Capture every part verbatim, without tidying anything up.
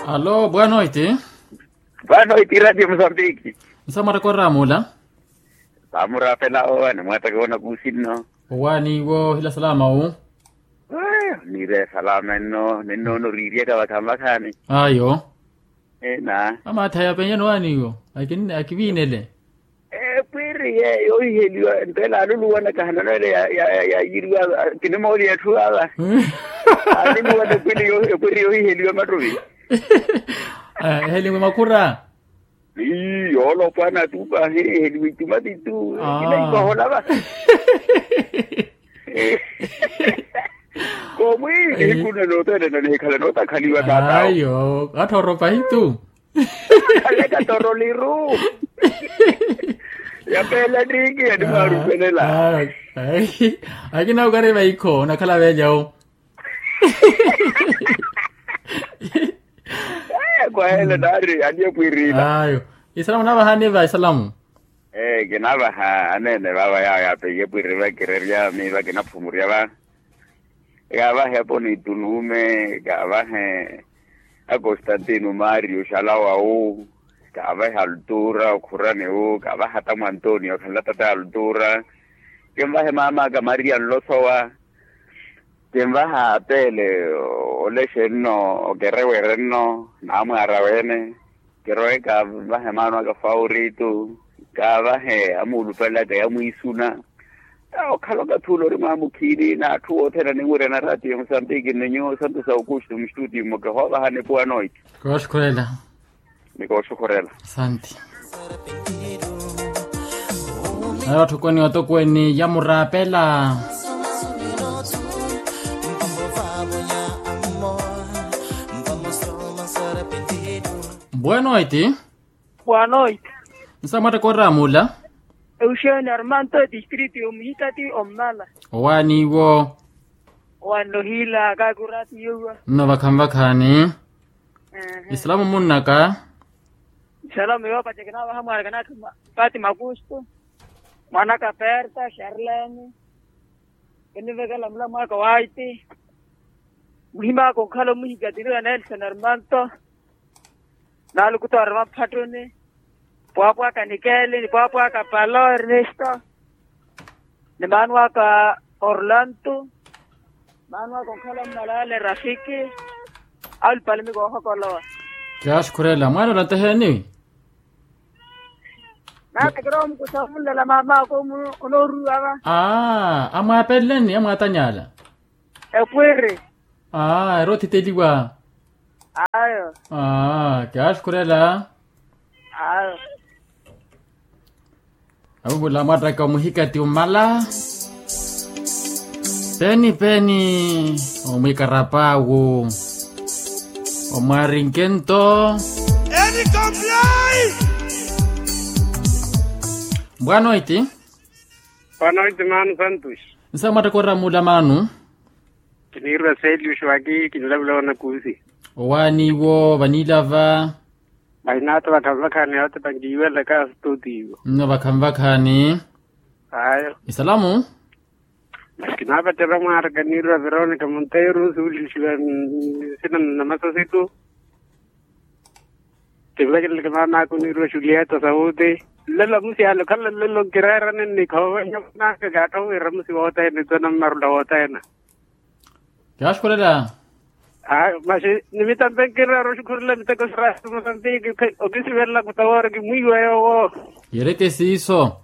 Alo bwanoiti. Bwanoiti ratio musambiki. Nsamwattaka oraamula. Samurapela owa nimwattaka owa nakuusi nno. Owaani iwo hila salama wu. Niire salama nno ninnoona oriiryaka vakhanvakhaani. Ayo. Ena. Amaattha yapenyani owaani iwo. Akiviinele. Epwiri yeeyo ohiheliwa ntela aluluwana kahanano ele yayiriwa. Kinimooli etthu ava aluluwana epwiri yoohiheliwa mattuvi. Eheliwe makhura. Ii yoolopwana tu pahi eheliwe itumati tu. Kinaikoholava. Komwi nihiku nne noothelena nihikhala nootakhaliwa taatawo. Ayo attha oropahi tu. Khaleka toroliru. Yapeela ttiiki yanimwaarupelela. Akina okari vaikho onakhala velyawo. Kwahela naari aniye pwiirina. Ayo. Isalamu navahani va isalamu. Ee kinavaha aneene vava yawo yaapeiye pwiiri vakirerya miiva kinaphumurya va. Kaavahe aponitu nuume kaavahe. Akostantino mario xalawawu. Kaavahe altura okhuraniwu kaavahe atamu antonio khanla tata altura. Kinvahe maamaka maria nlosowa. Kinvaha atele. Olexe nno okerewere nno naamwaara weene. Kirowe kaavahe maano aka faurito. Kaavahe amuulupelaka yamwiisuna. Okhala okathi ula ori mwaamukhiini n'atthu othene aninwirya na ratio ya musambiki ni nyuwo santo sa aukusto mustutiyo mmoke hoovahani puwa noiti. Kooxukhurela. Ni kooxukhurela. Asanti. Nayo atthukweni otokweni yamuraapela. Bwanoiti. Bwanoiti. Nsamwattaka oraamula. Euxeni armanto etistrito yomuhikati ommala. Owaaniwo. Owaani nohiila kaaki oratiyo iwa. Nno vakhanvakhaani. Isalamu munnaka. Isalamu yoopacekenavaha mwaana kanaka pati makusto. Mwaanaka perta charlene. Kinivekela mulamu aka waiti. Muhim'aka onkhala omuhikatiniwa nelson armanto. Naalukuta orima mphattuni. Pwaapwaka nikeli ni pwaapwaka palo ernesto. Ni maano aka orlanto. Maano aka onkhala mmalale rafiki. Aulupalimi koohokolowa. Kiyaaxukhurela mwaana olanteheeni. Naatakira omukusa omunlela maam'aka onooruwa va. Aa amwaapeleleni amwaatanyala. Epwiri. Aa eri othiteliwa. Ayo. Aa kiyaaxukhurela. Ayo. Avuvula mwattaka omuhikati omala. Peni peni. Omwikarapaawu. Omwarinke nto. Eni komplai. Bwanoiti. Bwanoiti maanu santos. Nsamwattaka oramula maanu. Kiniirwa selius waki kinilavula wanakuusi. Owaaniwo vaniilava. Vahinaatta vakhanvakhaani yootepa nkiiwelaka studio. Nno vakhanvakhaani. Ayo. Isalamu. Masi kinaapattera mwaaraka niirwa veronica monteiro suulisiwa nsina nnamasasitu. Tivakeleleke maam'aka oniirwa julieta sauti. Nlelo amusi ale okhala nlelo nkireerani nnikhoova nyamun'aka kaattho wira amusi wothene tona mmarula wothene. Kiyaaxukhurela. Ayo masi nimitampe nkireera oxukhurela miteko sira ya mosambiki. Okisivelelaka otawoori kimwiiwa yoowo. Yereke siiso.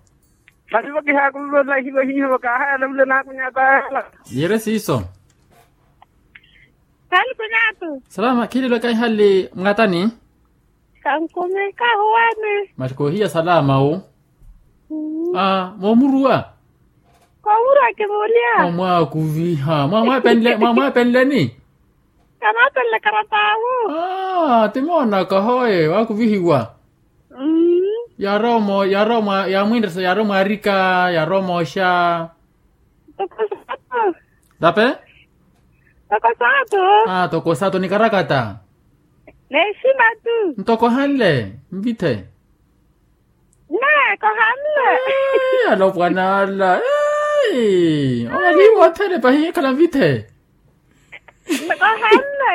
Masi vo kihaakuviva olahiwa hiiho vo kaahayala vule naakunyatayala. Yere siiso. Hali kunyatu. Salama khililo kaihali mwatani. Kankumi kahuwani. Masi koohiya salama wu. Aa moomuruwa. Koomuruwa kimulya. Mwamwaakuviha mwamwaapenleni. Kanaapenle karatawu. Aa timoonaka hoye waakuvihiwa. Yarowa omo yarowa omwa yaamwinresa yarowa omwarika yarowa omooxa. Toko saatu. Tape. Toko saatu. Aa toko saatu nikarakata. Neexima tu. Ntoko hanle nvithe. Nne kohanle. Alopwana ala. Omaliiwa othene pahi ekhala nvithe. Nkohanne.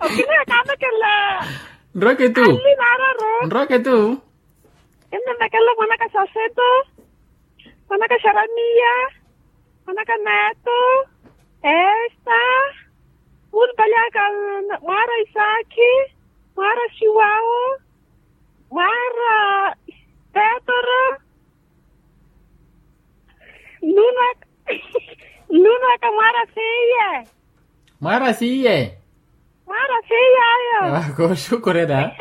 Okiniha kaamekela. Nroke tu. Anli naararu. Nroke tu. Kinnimekela mwanaka xaseto, mwanaka xaramiya, mwanaka neto, esta, munpalyaka, mwaara isaakhi, mwaara xiwawo, mwaara petoro, nunwaka, nunwaka mwaara seiye. Mwaara seiye. Mwaara seiye ayo. Kooxukurela.